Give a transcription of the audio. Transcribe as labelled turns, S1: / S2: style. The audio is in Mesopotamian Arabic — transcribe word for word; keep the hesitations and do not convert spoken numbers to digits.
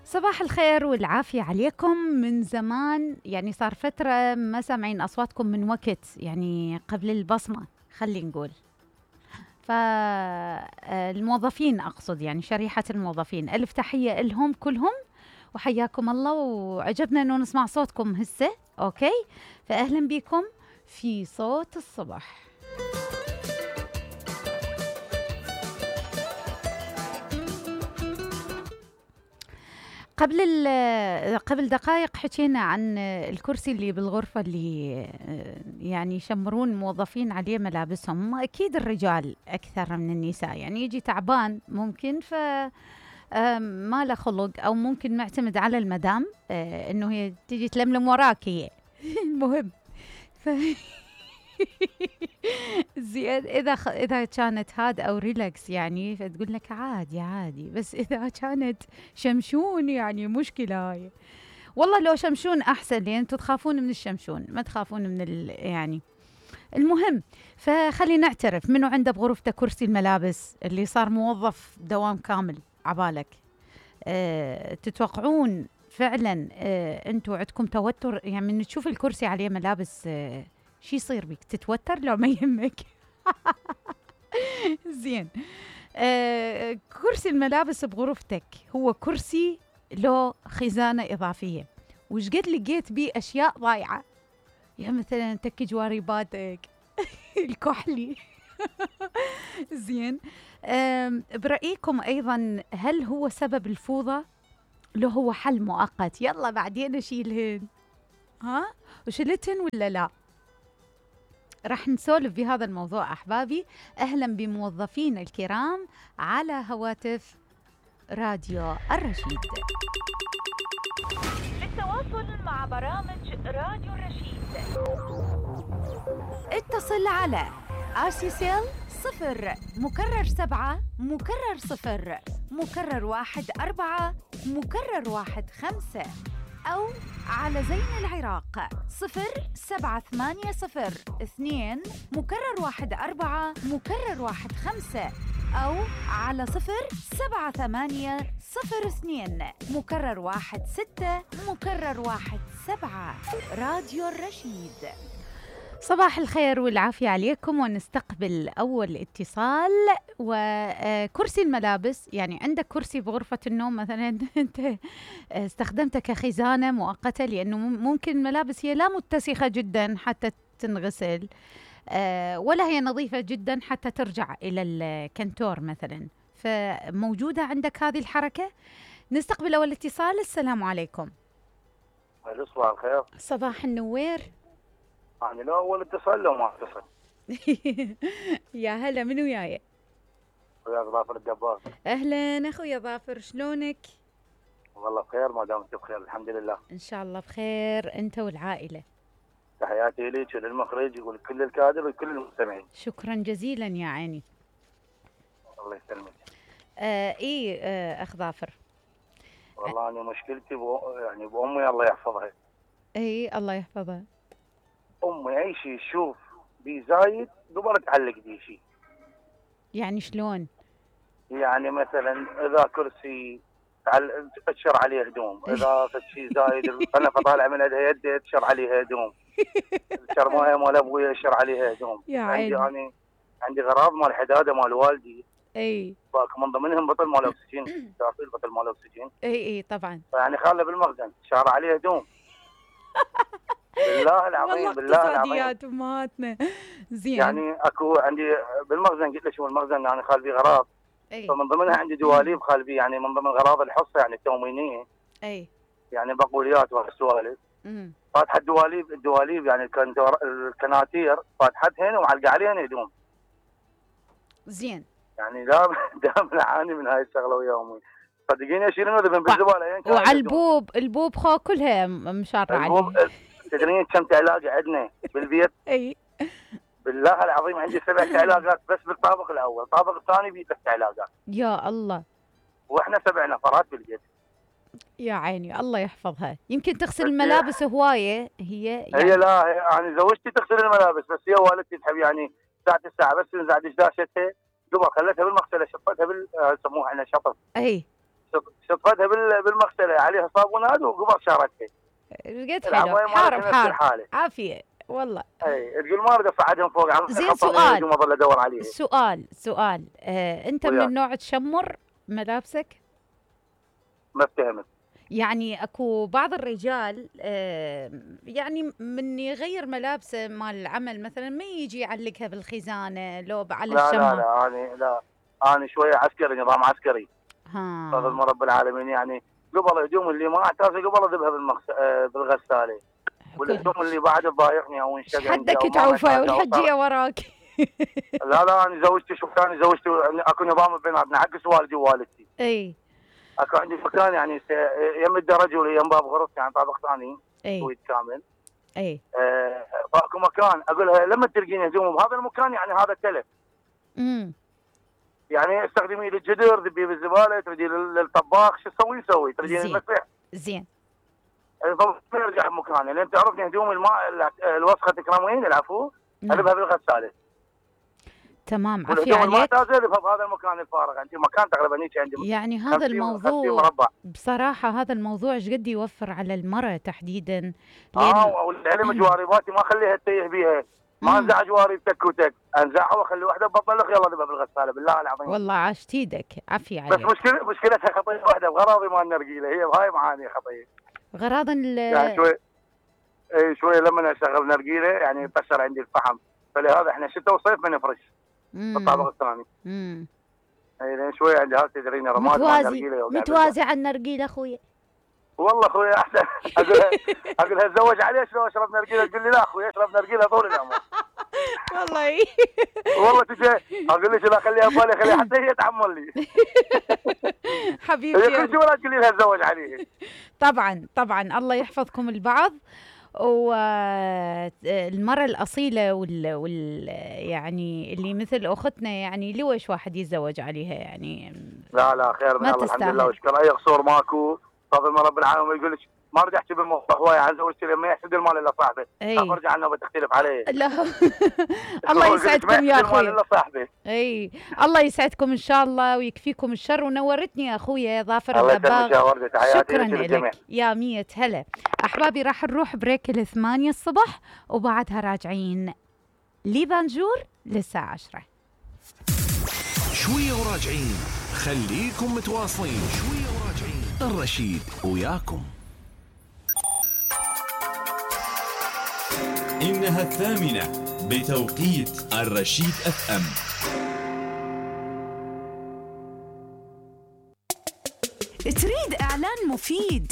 S1: صباح الخير والعافية عليكم. من زمان يعني صار فترة ما سامعين أصواتكم من وقت، يعني قبل البصمة خلي نقول. فالموظفين أقصد يعني شريحة الموظفين، ألف تحية لهم كلهم وحياكم الله، وعجبنا أنه نسمع صوتكم هسه. أوكي، فأهلا بكم في صوت الصبح. قبل قبل دقائق حكينا عن الكرسي اللي بالغرفة اللي يعني يشمرون الموظفين عليه ملابسهم. أكيد الرجال أكثر من النساء، يعني يجي تعبان ممكن ف ما له خلق، أو ممكن معتمد على المدام إنه هي تيجي تلملم وراك هي المهم ف زين إذا خ... إذا كانت هاد أو ريلاكس يعني فتقول لك عادي عادي، بس إذا كانت شمشون يعني مشكلة هاي. والله لو شمشون أحسن، لأن أنتوا تخافون من الشمشون ما تخافون من ال... يعني المهم. فخلي نعترف، منو عنده بغرفته كرسي الملابس اللي صار موظف دوام كامل عبالك؟ أه... تتوقعون فعلا أه... أنتوا عندكم توتر يعني من تشوف الكرسي عليه ملابس؟ أه... شي يصير بك؟ تتوتر لو ما يهمك؟ زين. آه، كرسي الملابس بغرفتك هو كرسي له خزانة إضافية، وش قد لقيت بيه أشياء ضايعة، يعني مثلا تك جواريباتك الكحلي. زين. برأيكم أيضا هل هو سبب الفوضى؟ لو هو حل مؤقت يلا بعدين أشيلهن، ها وشلتهن ولا لا؟ رح نسولف بهذا الموضوع أحبابي. أهلا بموظفين الكرام على هواتف راديو الرشيد.
S2: للتواصل مع برامج راديو الرشيد
S1: اتصل على آسيسيل صفر مكرر سبعة مكرر صفر مكرر واحد أربعة مكرر واحد خمسة، أو على زين العراق صفر سبعة ثمانية صفر اثنين مكرر واحد أربعة مكرر واحد خمسة، أو على صفر سبعة ثمانية صفر اثنين مكرر واحد ستة مكرر واحد سبعة. راديو الرشيد. صباح الخير والعافية عليكم، ونستقبل أول اتصال. وكرسي الملابس، يعني عندك كرسي بغرفة النوم مثلا أنت استخدمته كخزانة مؤقتة، لأنه ممكن الملابس هي لا متسخة جدا حتى تنغسل، ولا هي نظيفة جدا حتى ترجع إلى الكنتور مثلا، فموجودة عندك هذه الحركة. نستقبل أول اتصال. السلام عليكم.
S3: صباح الخير.
S1: صباح النوير.
S3: يعني لو أول اتصال لو ما اتصل.
S1: يا هلا، من وياي؟
S3: ويا ظافر الدباغ.
S1: أهلا أخويا ظافر، شلونك؟
S3: والله بخير، ما دام أنت بخير الحمد لله.
S1: إن شاء الله بخير أنت والعائلة.
S3: تحياتي لك وللمخرج ولكل الكادر وكل المستمعين.
S1: شكرا جزيلا يا عيني.
S3: الله يسلمك.
S1: آه إيه آه أخ ظافر،
S3: والله أنا مشكلتي بو يعني بأمي الله يحفظها.
S1: إيه الله يحفظها.
S3: أمي أي شيء تشوف بي زايد قبل تعلق بيه شيء.
S1: يعني شلون؟
S3: يعني مثلا إذا كرسي تأشر عليه هدوم، إذا في شيء زايد أنا فطالع من يدها يدي تشر عليها هدوم، الشرماية مال أبوي يشر عليها هدوم. عندي أنا عندي غراض مال حدادة مال والدي،
S1: اي
S3: باك من ضمنهم بطل مال أكسجين، تعرفين بطل مال أكسجين؟
S1: اي اي طبعا.
S3: يعني خاله بالمخزن شار عليه هدوم. بالله العظيم بالله العظيم
S1: اقتصاديات امهاتنا. زين.
S3: يعني اكو عندي بالمخزن، قلت له شو المخزن يعني خال بيه غراض،
S1: أي.
S3: فمن ضمنها عندي دواليب خال بيه، يعني من ضمن غراض الحصه يعني التومينيه،
S1: اي
S3: يعني بقوليات وهالسوالف. فاتحه الدواليب الدواليب يعني الكناتير فاتحتهن ومعلقه عليهن هدوم.
S1: زين.
S3: يعني دائما دائما اعاني من هاي الشغله ويا امي، صدقيني اشيل انه بالزباله يعني.
S1: وعلى البوب البوب خو كلها مشاره عليه.
S3: تدرين كم علاقه عندنا بالبيت؟
S1: اي
S3: بالله العظيم عندي سبع علاقات بس بالطابق الاول، الطابق الثاني فيه ثلاث علاقات.
S1: يا الله.
S3: واحنا سبع نفرات بالبيت.
S1: يا عيني الله يحفظها. يمكن تغسل الملابس هوايه هي يعني.
S3: هي لا يعني زوجتي تغسل الملابس، بس هي والدتي تحب يعني ساعه الساعه بس تنزع دشداشتها قبل خلتها بالمغسله، شطتها بال يسموها احنا شطف.
S1: اي
S3: شطفتها بالمغسله عليها صابونات وقبل شارتها.
S1: قد حلو حار بحار عافيه والله.
S3: اي تقول ما اريد افعدهم فوق عم
S1: زين سؤال
S3: اظل ادور عليها.
S1: سؤال سؤال آه، انت وياك. من النوع تشمر ملابسك؟
S3: ما افتهمت.
S1: يعني اكو بعض الرجال آه يعني من يغير ملابسه مال العمل مثلا ما يجي يعلقها بالخزانه لو على
S3: لا
S1: الشمع.
S3: لا لا انا لا انا شويه عسكري نظام عسكري.
S1: ها
S3: فضل رب العالمين يعني قبل الهدوم اللي ما احتاجها قبل اذبها بالمغس... بالغساله. والهدوم اللي بعد تضايقني او انشق عندي
S1: حدك تعوفه والحجيه وراك.
S3: لا لا انا زوجتي شوف ثاني زوجتي اكو نظام بيناتنا عكس والدي ووالدتي.
S1: اي
S3: اكو عندي مكان يعني يم الدرج ولا يم باب غرفتي يعني طابق ثاني سويت كامل.
S1: اي
S3: آه فاكو مكان اقول لها لما تلقين هدوم بهذا المكان يعني هذا تلف.
S1: امم
S3: يعني استخدمي للجدر ذبيه بالزباله تردي للطباخ شو تسوي سوي تردي المسرح.
S1: زين
S3: ما يرجع بمكانه لان تعرفني هدوم الماء الوسخه تكرمين العفو اذبها بالغساله.
S1: تمام عافية عليك.
S3: ما تازل بهذا المكان الفارغ عندي مكان تقريبا هيك عندي
S1: يعني هذا الموضوع بصراحة هذا الموضوع ايش قد يوفر على المرأة تحديدا.
S3: اه والعلم جوارباتي ما اخليها تتيه بيها ما انزع جوارب تك وتك انزعها واخلي واحده ببطلخ يلا ذبها بالغساله بالله العظيم.
S1: والله عاشت ايدك عافية عليك.
S3: بس مشكلة مشكلتها خطيه واحده بغراضي مال النرجيله هي بهاي معاني خطيه.
S1: غراض ال
S3: يعني شوي اي شوي لما اشغل نرجيله يعني يكسر عندي الفحم فلهذا احنا شتاء وصيف ما نفرش. الطابق الثاني. امم اي شوي عندي هاي تدريني رماد
S1: متوازي متوازي على النرجيله اخوي.
S3: والله اخوي احسن اقول اقول لها تزوج عليه شلون اشرب نرجيله تقول لي لا اخوي اشرب نرجيله طول العمر.
S1: والله
S3: والله تجي اقول لك لا خليها ببالي خليها حتى هي تعمل لي.
S1: حبيبتي
S3: هي كل شيء ولا تقول لي لها تزوج عليه.
S1: طبعا طبعا الله يحفظكم البعض. والمرأة الأصيلة وال, وال يعني اللي مثل أختنا يعني لوش واحد يتزوج عليها يعني.
S3: لا لا خير من الله الحمد لله وشكرا أي قصور ماكو فضل من رب العالمين. يقول لك ما ارجع احكي بالموضوع هوايه عن زوجتي لما يحسد المال الا صاحبه. ارجع عنه بتختلف عليه.
S1: لا الله يسعدكم يا اخوي.
S3: الا صاحبه.
S1: اي الله يسعدكم ان شاء الله ويكفيكم الشر ونورتني يا اخويا ظافر
S3: الدباغ.
S1: شكرا لك يا مية هلا. احبابي راح نروح بريك الثمانية الصبح وبعدها راجعين لبانجور للساعة عشرة.
S4: شوية وراجعين خليكم متواصلين. شوية وراجعين الرشيد وياكم.
S5: إنها الثامنة بتوقيت الرشيد اف ام.
S6: تريد إعلان مفيد